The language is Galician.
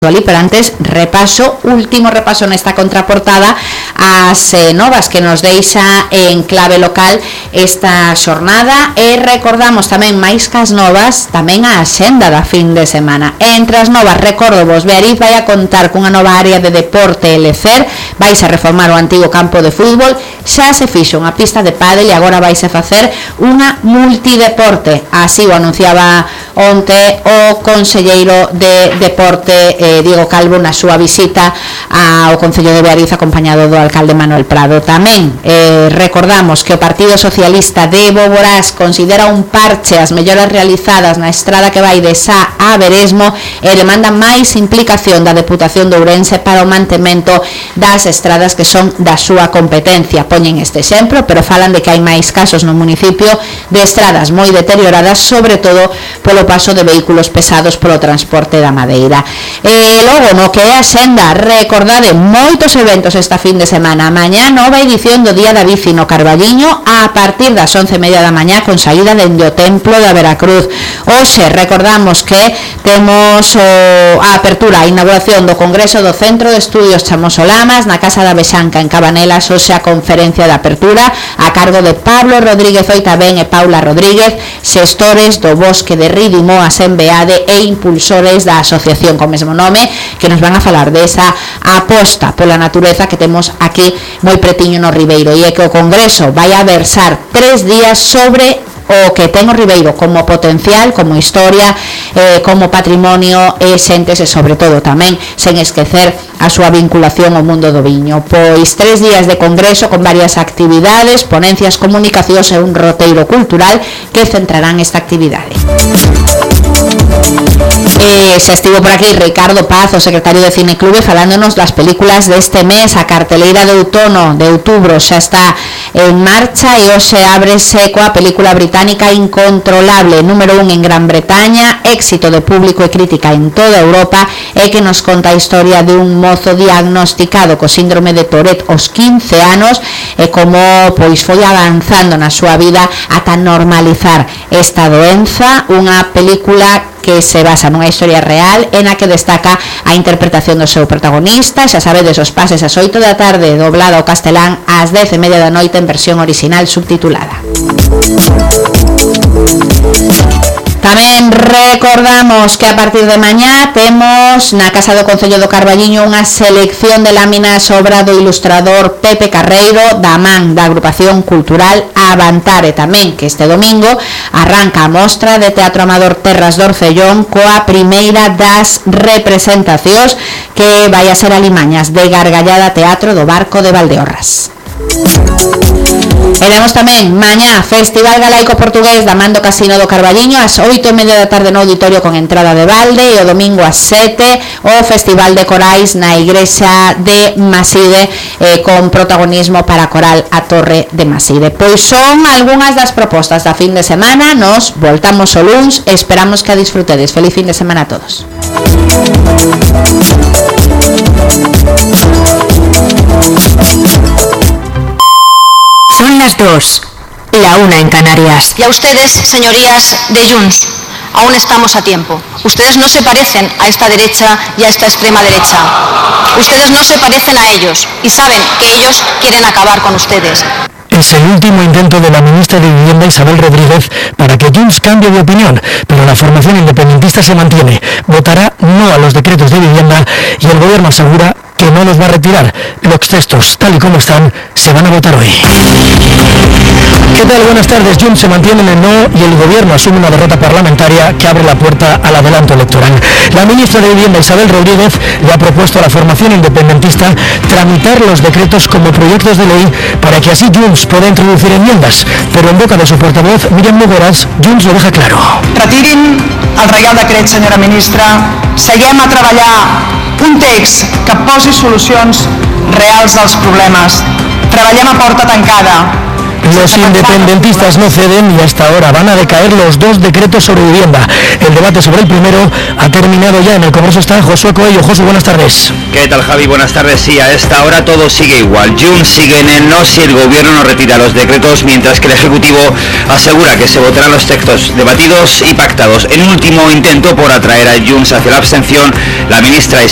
Pero antes, último repaso nesta contraportada as novas que nos deixa en clave local esta xornada e recordamos tamén máis cas novas tamén a axenda da fin de semana. Entre as novas, recordo vos, Beariz vai a contar cunha nova área de deporte e lecer, vais a reformar o antigo campo de fútbol, xa se fixo unha pista de pádel e agora vais a facer unha multideporte, así o anunciaba onte o conselleiro de deporte Diego Calvo na súa visita ao Concello de Beariz acompañado do alcalde Manuel Prado. Tamén recordamos que o Partido Socialista de Boborás considera un parche as melloras realizadas na estrada que vai de Sá a Veresmo e demanda máis implicación da Deputación de Ourense para o mantemento das estradas que son da súa competencia. Poñen este exemplo, pero falan de que hai máis casos no municipio de estradas moi deterioradas, sobre todo polo paso de vehículos pesados polo transporte da madeira. Logo, no que é a xenda, recordade moitos eventos esta fin de semana. Mañá nova edición do Día da Bici no Carballiño a partir das 11:30 da mañá con saída dende o Templo da Veracruz. Hoxe recordamos que temos a apertura, a inauguración do Congreso do Centro de Estudios Chamosolamas na Casa da Bexanca en Cabanelas. Hoxe a conferencia de apertura a cargo de Pablo Rodríguez Oitabén e Paula Rodríguez, xestores do Bosque de Rídimo, a Sembeade e impulsores da asociación co mesmo nome, que nos van a falar desa aposta pola natureza que temos aquí moi pretiño no Ribeiro, e é que o Congreso vai a versar 3 días sobre o que ten o Ribeiro como potencial, como historia, como patrimonio e xentes e sobre todo tamén sen esquecer a súa vinculación ao mundo do viño. Pois 3 días de congreso con varias actividades, ponencias, comunicacións e un roteiro cultural que centrarán esta actividade. Se estivo por aquí Ricardo Paz, o secretario de Cine Clube, falándonos das películas deste mes. A carteleira de outono de outubro xa está en marcha e hoxe ábrese coa película británica Incontrolable, número 1 en Gran Bretaña, éxito de público e crítica en toda Europa, e que nos conta a historia de un mozo diagnosticado co síndrome de Tourette aos 15 anos e como pois foi avanzando na súa vida ata normalizar esta doenza. Unha película que se basa nunha historia real e na que destaca a interpretación do seu protagonista. Xa sabedes, os pases ás 8 da tarde, doblado ao castelán, ás 10:30 da noite en versión original subtitulada. Tamén recordamos que a partir de mañá temos na Casa do Concello do Carballiño unha selección de láminas obra do ilustrador Pepe Carreiro da man da agrupación cultural Avantare. Tamén que este domingo arranca a mostra de teatro amador Terras do Orcellón coa primeira das representacións que vai a ser Alimañas de Gargallada Teatro do Barco de Valdeorras. E temos tamén mañá Festival Galaico Portugués da man do Casino do Carballiño ás 8:30 da tarde no auditorio con entrada de balde, e o domingo ás 7 o Festival de Corais na Igrexa de Maside con protagonismo para coral a Torre de Maside. Pois son algunhas das propostas da fin de semana. Nos voltamos o luns, esperamos que a disfrutedes. Feliz fin de semana a todos. Son las 2, la 1 en Canarias. Y a ustedes, señorías de Junts, aún estamos a tiempo. Ustedes no se parecen a esta derecha y a esta extrema derecha. Ustedes no se parecen a ellos y saben que ellos quieren acabar con ustedes. Es el último intento de la ministra de Vivienda Isabel Rodríguez para que Junts cambie de opinión, pero la formación independentista se mantiene. Votará no a los decretos de vivienda y el gobierno asegura que no los va a retirar. Los textos, tal y como están, se van a votar hoy. ¿Qué tal? Buenas tardes. Junts se mantiene en el no y el gobierno asume una derrota parlamentaria que abre la puerta al adelanto electoral. La ministra de Vivienda Isabel Rodríguez le ha propuesto a la formación independentista tramitar los decretos como proyectos de ley para que así Junts pueda introducir enmiendas, pero en boca de su portavoz Míriam Nogueras, Junts lo deja claro. Retirin el Reial Decret, senyora ministra. Seguem a treballar un text que posi solucions reals als problemes. Treballem a porta tancada. Los independentistas no ceden y hasta ahora van a decaer los 2 decretos sobre vivienda. El debate sobre el primero ha terminado ya. En el Congreso está Josué Coello. Josué, buenas tardes. ¿Qué tal, Javi? Buenas tardes. Sí, a esta hora todo sigue igual. Junts sigue en el no si el gobierno no retira los decretos, mientras que el Ejecutivo asegura que se votarán los textos debatidos y pactados. En un último intento por atraer a Junts hacia la abstención, la ministra Isabel